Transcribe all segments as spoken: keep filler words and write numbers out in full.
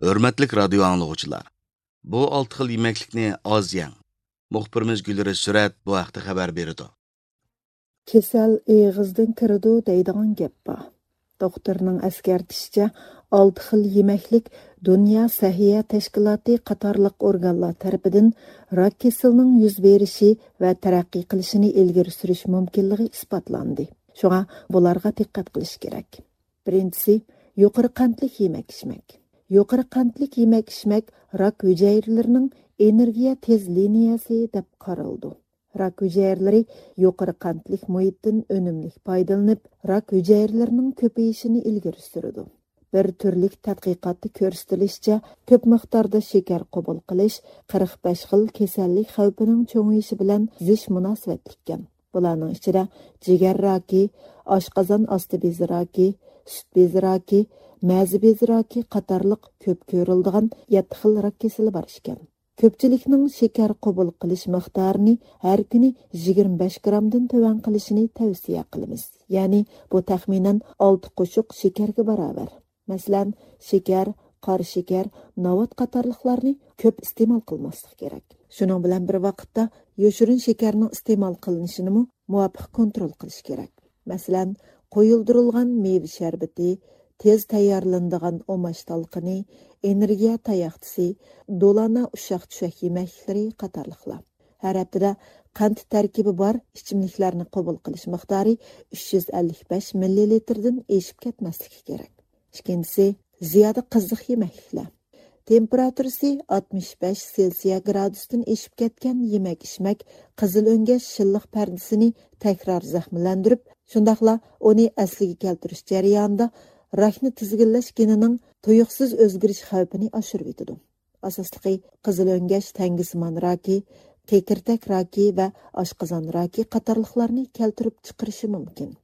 ھۆرمەتلىك رادىيو ئاڭلىغۇچىلار، بۇ ئالتە خىل يېمەكلىكنى ئاز يەڭ. مۇخبىرىمىز گۈلرەش سۈرەت بۇ ھەقتە خەۋەر بېرىدۇ. كېسەل ئېغىزدىن كىرىدۇ دەيدىغان گەپ بار. دوختۇرنىڭ ئەسكەرتىشىچە، ئالتە خىل يېمەكلىك دۇنيا سەھىيە تەشكىلاتى قاتارلىق ئورگانلار تەرىپىدىن راك كېسىلىنىڭ يۈز بېرىشى ۋە تەرەققىي قىلىشىنى ئىلگىرى سۈرۈش مۇمكىنلىقى ئىسپاتلاندى. شۇڭا بۇلارغا دىققەت قىلىش كېرەك. بىرىنچىسى، يۇقىرى قەنتلىك يېمەك-ئىچمەك. يۇقىرى قەنتلىك يېمەك-ئىچمەك راك ھۈجەيرىلىرىنىڭ ئېنېرگىيە تېز لىنىيەسى دەپ قارىلىدۇ. راك ھۈجەيرىلىرى يۇقىرى قەنتلىك مۇھىتتىن ئۈنۈملۈك پايدىلىنىپ، راك ھۈجەيرىلىرىنىڭ كۆپىيىشىنى ئىلگىرى سۈرىدۇ. بىر تۈرلۈك تەتقىقاتتا كۆرسىتىلىشىچە، كۆپ مىقداردا شېكەر قوبۇل قىلىش قىرىق بەش خىل كېسەللىك خەۋپىنىڭ چوڭىيىشى بىلەن زىچ مۇناسىۋەتلىككەن. بۇلارنىڭ ئىچىدە جىگەر راكى، ئاشقازان ئاستى بېزى راكى، سۈت بېزى راكى، مەزە بېزى راكى قاتارلىق كۆپ كۆرۈلىدىغان يەتتە خىل راك كېسىلى بار ئىكەن. كۆپچىلىكنىڭ شېكەر قوبۇل قىلىش مىقدارىنى ھەر كۈنى يىگىرمە بەش گرامدىن تۆۋەن قىلىشىنى تەۋسىيە قىلىمىز. يەنى بۇ تەخمىنەن ئالتە قوشۇق شېكەرگە باراۋەر. مەسىلەن، شېكەر، قارا شېكەر، ناۋات قاتارلىقلارنى كۆپ ئىستېمال قىلماسلىق كېرەك. شۇنىڭ بىلەن بىر ۋاقىتتا، يوشۇرۇن شېكەرنىڭ ئىستېمال قىلىنىشىنىمۇ مۇۋاپىق كونترول قىلىش كېرەك. مەسىلەن، قويۇلدۇرۇلغان مېۋە شەربىتى، تېز تەييارلىنىدىغان ئۇماچ تالقىنى، ئېنېرگىيە تاياقچىسى، دولانا ئۇششاق-چۈششەك يېمەكلىكلىرى قاتارلىقلار. ھەر ھەپتىدە قەنت تەركىبى بار ئىچىملىكلەرنى قوبۇل قىلىش مىقدارى ئۈچ يۈز ئەللىك بەش مىللىلىتىردىن ئېشىپ كەتمەسلىكى كېرەك. ئىككىنچىسى، زىيادە قىزىق يېمەكلىكلەر. تېمپېراتۇرىسى ئاتمىش بەش سېلسىيە گرادۇستىن ئېشىپ كەتكەن يېمەك-ئىچمەك قىزىل ئۆڭگەش شىللىق پەردىسىنى تەكرار زەخىملەندۈرۈپ، شۇنداقلا ئۇنى ئەسلىگە كەلتۈرۈش جەريانىدا راكنى تىزگىنلەش گېنىنىڭ تۇيۇقسىز ئۆزگىرىش خەۋپىنى ئاشۇرۇۋېتىدۇ. ئاساسلىقى قىزىل ئۆڭگەش تەڭگىسىمان راكى، كېكىرتەك راكى ۋە ئاشقازان راكى قاتارلىقلارنى كەلتۈرۈپ چىقىرىشى مۇمكىن.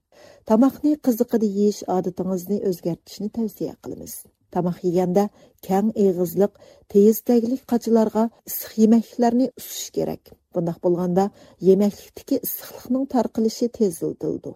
تاماقنى قىزىقىدا يېيىش ئادىتىڭىزنى ئۆزگەرتىشنى تەۋسىيە قىلىمىز. تاماق يېگەندە كەڭ ئېغىزلىق، تېيىز تەگلىك قاچىلارغا ئىسسىق يېمەكلىكلەرنى ئۇسۇش كېرەك. بۇنداق بولغاندا يېمەكلىكتىكى ئىسسىقلىقنىڭ تارقىلىشى تېزلىتىلىدۇ.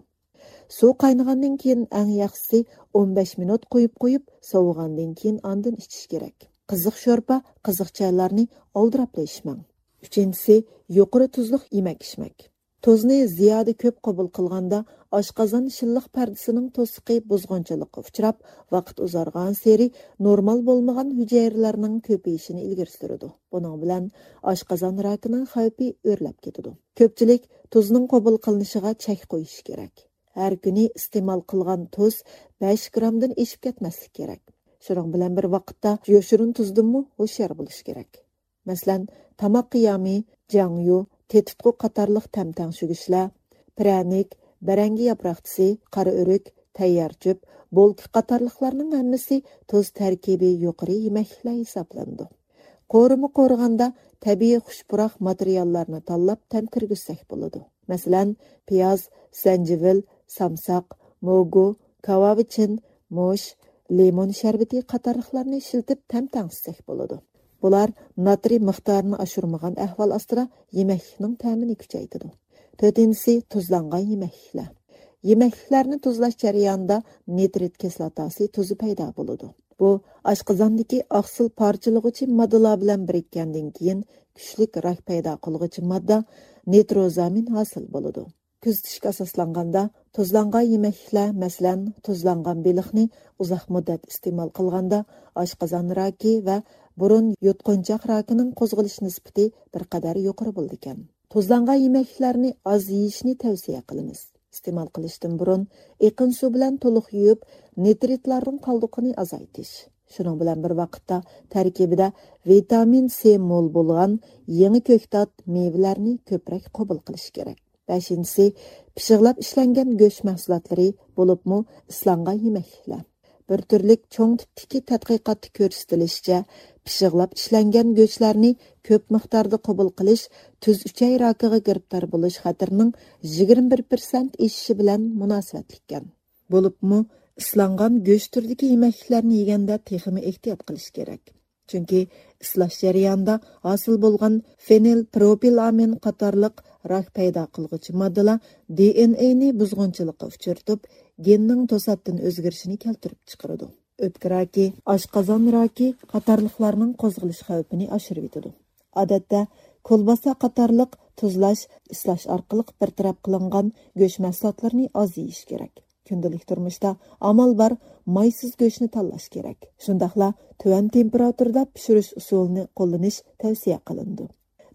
سۇ قاينىغاندىن كېيىن ئەڭ ياخشىسى ئون بەش مىنۇت قويۇپ قويۇپ، سوۋۇغاندىن كېيىن ئاندىن ئىچىش كېرەك. قىزىق شورپا، قىزىق چايلارنى ئالدىراپلا ئىچمەڭ. ئۈچىنچىسى، يۇقىرى تۇزلۇق يېمەك-ئىچمەك. تۇزنى زىيادە كۆپ قوبۇل قىلغاندا، ئاشقازان شىللىق پەردىسىنىڭ توسۇقى بۇزغۇنچىلىققا ئۇچراپ، ۋاقىت ئۇزارغانسېرى نورمال بولمىغان ھۈجەيرىلەرنىڭ كۆپىيىشىنى ئىلگىرى سۈرىدۇ. بۇنىڭ بىلەن ئاشقازان راكىنىڭ خەۋپى ئۆرلەپ كېتىدۇ. كۆپچىلىك تۇزنىڭ قوبۇل قىلىنىشىغا چەك قويۇشى كېرەك. ھەر كۈنى ئىستېمال قىلغان تۇز بەش گرامدىن ئېشىپ كەتمەسلىكى كېرەك. شۇنىڭ بىلەن بىر ۋاقىتتا، يوشۇرۇن تۇزدىنمۇ ھوشيار بولۇش كېرەك. مەسىلەن، تاماق قىيامى، جياڭيۇ، تېتىتقۇ قاتارلىق تەم تەڭشىگۈچلەر، پىرەنىك، بەرەڭگە ياپراقچىسى، قارا ئۆرۈك، تەييار چۆپ، بولكا قاتارلىقلارنىڭ ھەممىسى تۇز تەركىبى يۇقىرى يېمەكلىكلەر ھېسابلىنىدۇ. قورۇما قورۇغاندا تەبىئىي خۇش پۇراق ماتېرىياللارنى تاللاپ تەم كىرگۈزسەك بولىدۇ. مەسىلەن، پىياز، زەنجىۋىل، سامساق، موگۇ، كاۋاۋىچىن، مۇش، لىمون شەربىتى قاتارلىقلارنى ئىشلىتىپ تەم تەڭشىسەك بولىدۇ. بۇلار ناترىي مىقدارىنى ئاشۇرمىغان ئەھۋال ئاستىدا يېمەكلىكنىڭ تەمىنى كۈچەيتىدۇ. تۆتىنچىسى، تۇزلانغان يېمەكلىكلەر. يېمەكلىكلەرنى تۇزلاش جەريانىدا نىترىت كىسلاتاسى تۇزى پەيدا بولىدۇ. بۇ ئاشقازاندىكى ئاقسىل پارچىلىغۇچى ماددىلار بىلەن بىرىككەندىن كېيىن كۈچلۈك راك پەيدا قىلغۇچى ماددا نىتروزامىن ھاسىل بولىدۇ. كۆزىتىشكە ئاساسلانغاندا، تۇزلانغان يېمەكلىكلەر، مەسىلەن، تۇزلانغان بېلىقنى ئۇزاق مۇددەت ئىستېمال قىلغاندا، ئاشقازان راكى ۋە بۇرۇن يۇتقۇنچاق راكىنىڭ قوزغىلىش نىسبىتى بىر قەدەر يۇقىرى بولىدىكەن. تۇزلانغان يېمەكلىكلەرنى ئاز يېيىشنى تەۋسىيە قىلىمىز. ئىستېمال قىلىشتىن بۇرۇن ئېقىن سۇ بىلەن تولۇق يۇيۇپ، نىترىتلارنىڭ قالدۇقىنى ئازايتىش. شۇنىڭ بىلەن بىر ۋاقىتتا، تەركىبىدە ۋىتامىن سى مول بولغان يېڭى كۆكتات، مېۋىلەرنى كۆپرەك قوبۇل قىلىش كېرەك. بەشىنچىسى، پىششىقلاپ ئىشلەنگەن گۆش مەھسۇلاتلىرى، بولۇپمۇ ئىسلانغان يېمەكلىكلەر. بىر تۈرلۈك چوڭ تىپتىكى تەتقىقاتتا كۆرسىتىلىشىچە، پىششىقلاپ ئىشلەنگەن گۆشلەرنى كۆپ مىقداردا قوبۇل قىلىش تۈز ئۈچەي راكىغا گىرىپتار بولۇش خەتىرىنىڭ يىگىرمە بىر پىرسەنت ئېشىشى بىلەن مۇناسىۋەتلىككەن. بولۇپمۇ ئىسلانغان گۆش تۈرىدىكى يېمەكلىكلەرنى يېگەندە تېخىمۇ ئېھتىيات قىلىش كېرەك. چۈنكى ئىسلاش جەريانىدا ھاسىل بولغان فېنىلپروپىلامىن قاتارلىق راك پەيدا قىلغۇچى ماددىلار دى ئېن ئېنى بۇزغۇنچىلىققا ئۇچرىتىپ، گېننىڭ توساتتىن ئۆزگىرىشىنى كەلتۈرۈپ چىقىرىدۇ. ئۆپكە راكى، ئاشقازان راكى قاتارلىقلارنىڭ قوزغىلىش خەۋپىنى ئاشۇرۇۋېتىدۇ. ئادەتتە، كولباسا قاتارلىق تۇزلاش، ئىسلاش ئارقىلىق بىر تەرەپ قىلىنغان گۆش مەھسۇلاتلىرىنى ئاز يېيىش كېرەك. كۈندىلىك تۇرمۇشتا ئامال بار مايسىز گۆشنى تاللاش كېرەك. شۇنداقلا تۆۋەن تېمپېراتۇرىدا پىشۇرۇش ئۇسۇلىنى قوللىنىش تەۋسىيە قىلىنىدۇ.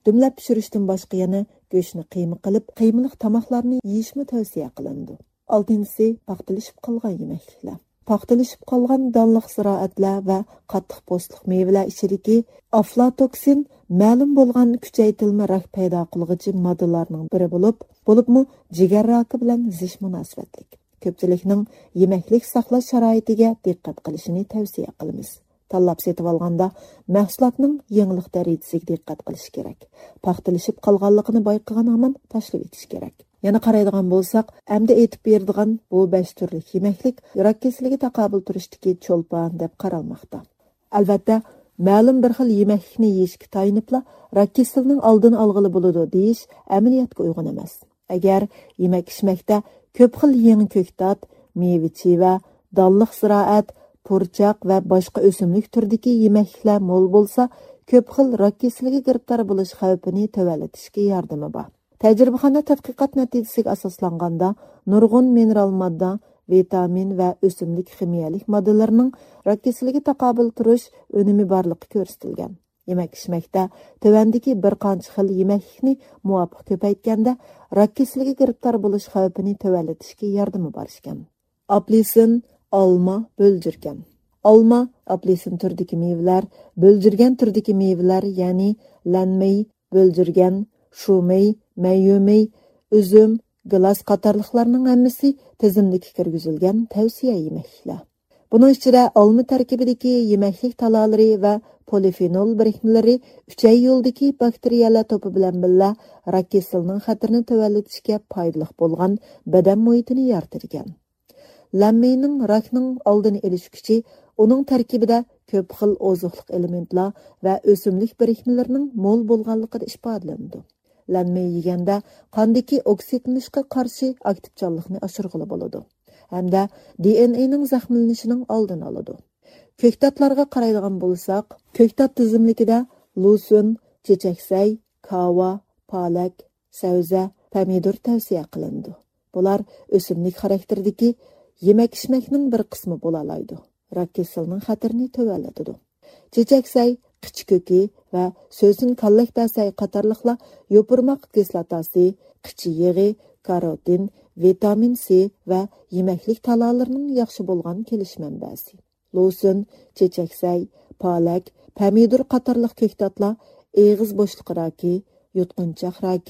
دۈملەپ پىشۇرۇشتىن باشقا يەنە گۆشنى قىيما قىلىپ، قىيمىلىق تاماقلارنى يېيىشمۇ تەۋسىيە قىلىنىدۇ. ئالتىنچىسى، پاختىلىشىپ قالغان يېمەكلىكلەر. پاختىلىشىپ قالغان دانلىق زىرائەتلەر ۋە قاتتىق پوستلۇق مېۋىلەر ئىچىدىكى ئافلاتوكسىن مەلۇم بولغان كۈچەيتىلمە راك پەيدا قىلغۇچى ماددىلارنىڭ بىرى بولۇپ، بولۇپمۇ جىگەر راكى بىلەن زىچ مۇناسىۋەتلىك. كۆپچىلىكنىڭ يېمەكلىك ساقلاش شارائىتىگە دىققەت قىلىشىنى تەۋسىيە قىلىمىز. تاللاپ سېتىۋالغاندا مەھسۇلاتنىڭ يېڭىلىق دەرىجىسىگە دىققەت قىلىش كېرەك. پاختىلىشىپ قالغانلىقىنى بايقىغان ھامان تاشلىۋېتىش كېرەك. يەنە قارايدىغان بولساق، ئەمدى ئېيتىپ بېرىدىغان بۇ بەش تۈرلۈك يېمەكلىك راك كېسىلىگە تاقابىل تۇرۇشتىكى چولپان دەپ قارالماقتا. ئەلۋەتتە، مەلۇم بىر خىل يېمەكلىكنى يېيىشكە تايىنىپلا راك كېسىلىنىڭ ئالدىنى ئالغىلى بولىدۇ دېيىش ئەمەلىيەتكە ئۇيغۇن ئەمەس. ئەگەر يېمەك ئىچمەكتە كۆپ خىل يېڭى كۆكتات، مېۋە-چىۋە، دانلىق زىرائەت، پۇرچاق ۋە باشقا ئۆسۈملۈك تۈرىدىكى يېمەكلىكلەر مول بولسا، كۆپ خىل راك كېسىلىگە گىرىپتار بولۇش خەۋپىنى تۆۋەنلىتىشكە ياردىمى بار. تەجرىبىخانا تەتقىقات نەتىجىسىگە ئاساسلانغاندا، نۇرغۇن مىنېرال ماددا، ۋىتامىن ۋە ئۆسۈملۈك خىمىيەلىك ماددىلىرىنىڭ راك كېسىلىگە تاقابىل تۇرۇش ئۈنۈمى بارلىقى كۆرسىتىلگەن. يېمەك ئىچمەكتە تۆۋەندىكى بىر قانچە خىل يېمەكلىكنى مۇۋاپىق كۆپەيتكەندە، راك كېسىلىگە گىرىپتار بولۇش خەۋپىنى تۆۋەنلىتىشكە ياردىمى بار ئىكەن. ئاپېلسىن، ئالما، بۆلجۈرگەن. ئالما، ئاپېلسىن تۈرىدىكى مېۋىلەر، بۆلجۈرگەن تۈرىدىكى مېۋىلەر، يەنى لەنمېي، بۆلجۈرگەن، شۇمېي، مەييۈمېي، ئۈزۈم، گىلاس قاتارلىقلارنىڭ ھەممىسى تىزىملىككە كىرگۈزۈلگەن تەۋسىيە يېمەكلىكلەر. بۇنىڭ ئىچىدە ئالما تەركىبىدىكى يېمەكلىك تالالىرى ۋە پولىفېنول بىرىكمىلىرى ئۈچەي يولىدىكى باكتېرىيەلەر توپى بىلەن بىللە راك كېسىلىنىڭ خەتىرىنى تۆۋەنلىتىشكە پايدىلىق بولغان بەدەن مۇھىتىنى يارىتىدىكەن. لەنمېينىڭ راكنىڭ ئالدىنى ئېلىش كۈچى ئۇنىڭ تەركىبىدە كۆپ خىل ئوزۇقلۇق ئېلېمېنتلار ۋە ئۆسۈملۈك بىرىكمىلىرىنىڭ مول بولغانلىقىدا ئىپادىلىنىدۇ. لەنمېي يېگەندە قاندىكى ئوكسىدلىنىشقا قارشى ئاكتىپچانلىقنى ئاشۇرغىلى بولىدۇ ھەمدە دى ئېن ئېنىڭ زەخىملىنىشىنىڭ ئالدىنى ئالىدۇ. كۆكتاتلارغا قارايدىغان بولساق، كۆكتات تىزىملىكىدە لۇسۈن، چېچەكسەي، كاۋا، پالەك، سەۋزە، پەمىدۇر تەۋسىيە قىلىنىدۇ. بۇلار ئۆسۈملۈك خاراكتېرىدىكى يېمەك-ئىچمەكنىڭ بىر قىسمى بولالايدۇ. راك كېسىلىنىڭ خەتىرىنى تۆۋەنلىتىدۇ. چېچەكسەي، قىچا كۆكى ۋە سۆسۈن كاللەكبەسەي قاتارلىقلار يوپۇرماق كىسلاتاسى، قىچا يېغى، كاروتىن، ۋىتامىن سى ۋە يېمەكلىك تالالىرىنىڭ ياخشى بولغان كېلىش مەنبەسى. لوسۇن، چېچەكسەي، پالەك، پەمىدۇر قاتارلىق كۆكتاتلار ئېغىز بوشلۇقى راكى، يۇتقۇنچاق راكى،